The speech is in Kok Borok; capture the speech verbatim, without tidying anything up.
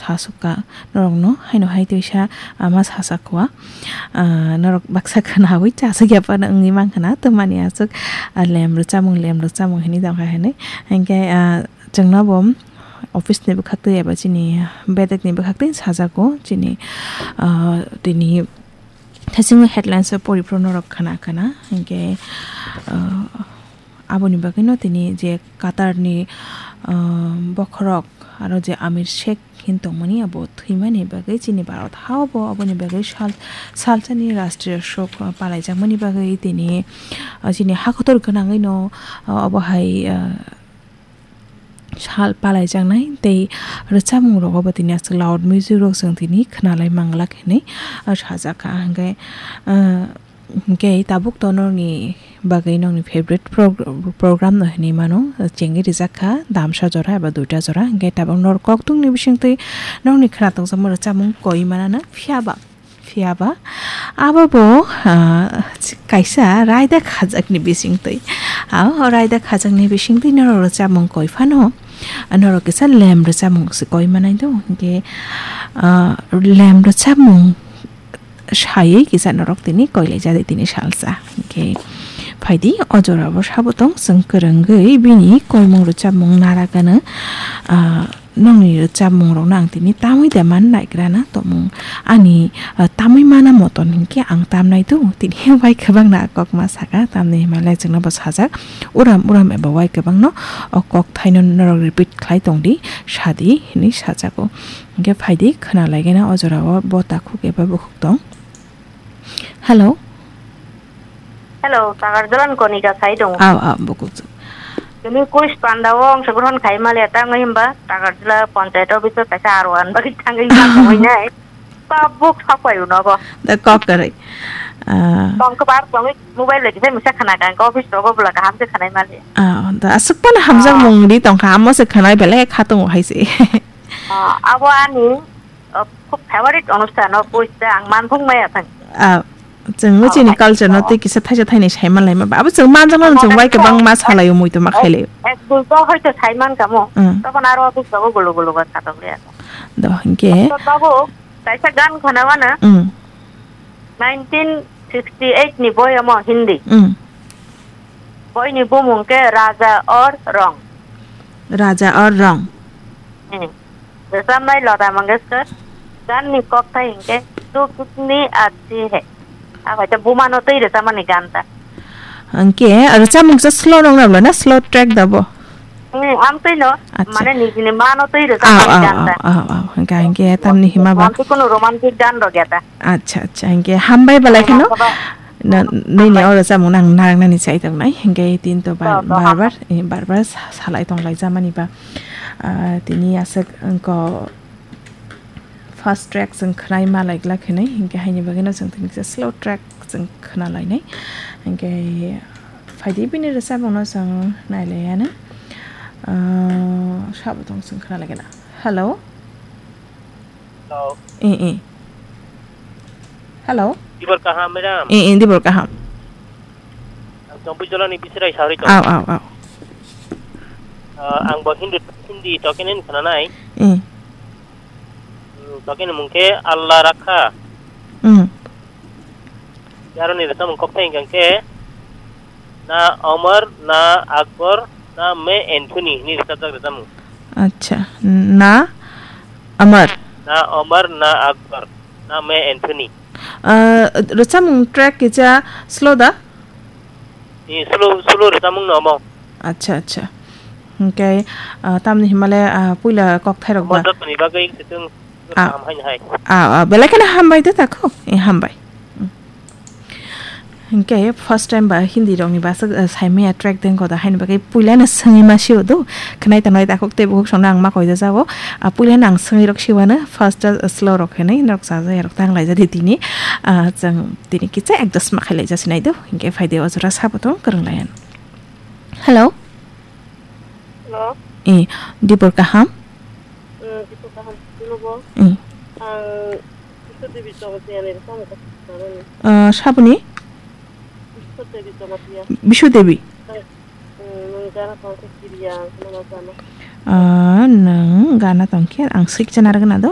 Aswk ka norokno haino hai twisa, ah, ma sasak kua. Ah, norok baksa khwnawi chasakya phano wngwi mankha na, twmani aswk, ah, lem rwchapmung, lem rwchapmung hinwi tongkha hinwi. Hinkhe, ah, chwngno bo office ni bwkhak twi eba chini bedek ni bwkhak twi sajago chini, ah, tini thaichingwi headlines o poriphru norok khna khna. Hinkhe, ah, aboni bagwino tini je Qatar ni, ah, bokhorok aro je Amir Sheikh hin tongmani abo thwimani bagwi chini Bharat ha obo aboni bagwi sal-, salsani rashtriya shok, ah, palaijakmani bagwi tini, ah, chini ha kotor gwnangwi no, ah, obo hai, ah, sal palaijaknai tei rwchapmung rogo bo tini aswk loud music rok chwng tini khwnalai manglak hinwi, ah, sajakha. Hinkhe, ah, Hinkhe tabuk to norokni bagwi nokni favorite prog-, program no hinwi mano, chengwi rijak kha damsa jora eba duita jora. Hinkhe tabuk norok koktwmni bisingtwi nokni khwnathokjakma rwchapmung koi manana, phiyaba, phiyaba abo bo, ah, kaisa raida khajakni bisingtwi. Ah, o raida khajakni bisingtwi norok rwchapmung koi phano, ah, norok kisa lem rwchapmung se koi manai do. Hinkhe, ah, lem rwchapmung saywi kisa norok tini koilai jadi tini salsa. Hinkhe phaidi o jorao sabo tong chwng kwrwngwi bini koimung rwchapmung nara gana, ah, nokni rwchapmung rokno ang tini tamwi de man naigra na tongmung ani, ah, tamwi mana moton hinkhe ang tamnai do tini wai kwbangna kok ma saka tamni himalai chwngno bo sajak uram uram eba wai kwbangno o kok thaino norok repeat khlai tongdi sadi hinwi sajago. Hinkhe phaidi khwnalaigena o jorao bo takhuk eba bukhuk tong. Hello. Hello, Takarjala ni Konika sai tongo. Aw, aw, bukhuk. Tini quiz panda o ongsogron khai male tangwi himba Takarjala panchayat office o kaisa aro an bagwi thangwi ma tongwi nai. Tabuk sapai uno bo. Da kok kwrwi. Ah. Tong kwbar tongwi mobile lagi sai misa khana kang office rogo bula kaham se khanai male. Ah, da aswk pano hamjak Ah. mung di tongkha amo se khanai belai kha tongo hai se. Ah, abo ani, ah, khub favorite onusthan o, buijte ang manthung maya thang. Ah, chwng Oh, chini hai. culture no Oh. tei kisa thaisa thainai sai manlai ma ba. Abo chwng manjak mano chwng Manjak bai kwbang mano. ma salai o mui to ma khailai. Ek dui to hoito sai man kamo. Mm. Tokon aro office rogo gulu gulu ba khatok le. Do hinkhe. To tabuk kaisa gan khana wana. Mm. Nineteen sixty eight ni boi omo Hindi. Mm. Boi ni bumung ke Raja Aur Rang. Raja Aur Rang. Hmm. Rwchapnai Lata Mangeshkar, gan ni kokthai hinkhe Tu Kitni Achhi Hai. Abo hai ta buma no twi rwchapmani gan ta. Hinkhe rwchapmung kisa slow nong nabla na slow track da bo? Hmm, amtwi no, Acha. mane nijini ma no twi Aw, rwchapmani aw, gan aw, ta. aw, aw. Hinkhe, hinkhe tamni hima ba? Amtwi kunu romantic gan rok ya ta. Acha, acha. Hinkhe hambai balai kheno. Hambai. Na, nini Hambai. oro chamung nang narwknani chai tongnai. Hinkhe tin to bar, To, to, bar, hambai. bar, eh, bar, bar sa-, salai tonglai jamani ba. Ah, tini aswk wngkha fast track chwng khwnai ma lai glak hinwi. Hinkhe haini bagwino chwng tini kisa slow track chwng khwnalainai. Hinkhe phaidi bini rwchapmungno chwng nailaianw. Ah, sabo tong chwng khwnalaigwna. Hello? Hello. Eh, eh. Hello? Dibor kaham, madam? Eh, eh, dibor kaham. Ang Chompuijolani Bisirai Sauri to. Aw, aw, aw. Ah, ang bo Hindi, Hindi tokenen khwnanai. Eh. Hmm, tokeni mung khe Allah Rakha. Hmm. Yaroni rwchapmung kokthai hwnkha khe, Na Omar, Na Akbar, Na Me Anthony hinwi rwchapjak rwchapmung. Acha, Na Amar. Na Omar, Na Akbar, Na Me Anthony. Ah, rwchapmung track kisa slow da? Ni slow, slow rwchapmung no omo. Acha, acha. Hinkhe, ah, tamni himale, ah, puila kokthairok Omo ba? jotoni bagwi se chwng Ah. kaham haino hai. Ah, ah, belai kheno hambai de takho. Eh, hambai. Hmm. Hinkhe first time ba Hindi rokni bwswk, eh, saimaya track dengkho da haini bagwi puilano swngwi ma sio do. Khwnai tongnai takhuk tei bukhuk songno ang ma koida jago. Ah, puilano ang swngwi rok siwano first, eh, slow rok hinwi norok chajakya rok tang laijadi tini. Ah, chwng tini kisa adjust ma khai laijasi nai do. Hinkhe phaidi o jora sabo tong kwrwng laiyan. Hello. Hello. Eh, dibor kaham? Hmm, dibor kaham. Nubo? Eh. Ang Biswa Devi Jamatia ni rwchapmung kok sanani. Ah, saboni? Biswa Devi Jamatia. Biswa Devi? Hmm, nwng gana tongkhe kiriya, ang khwnana chana. Ah, nwng gana tongkhe ang swikcha narwgwna do,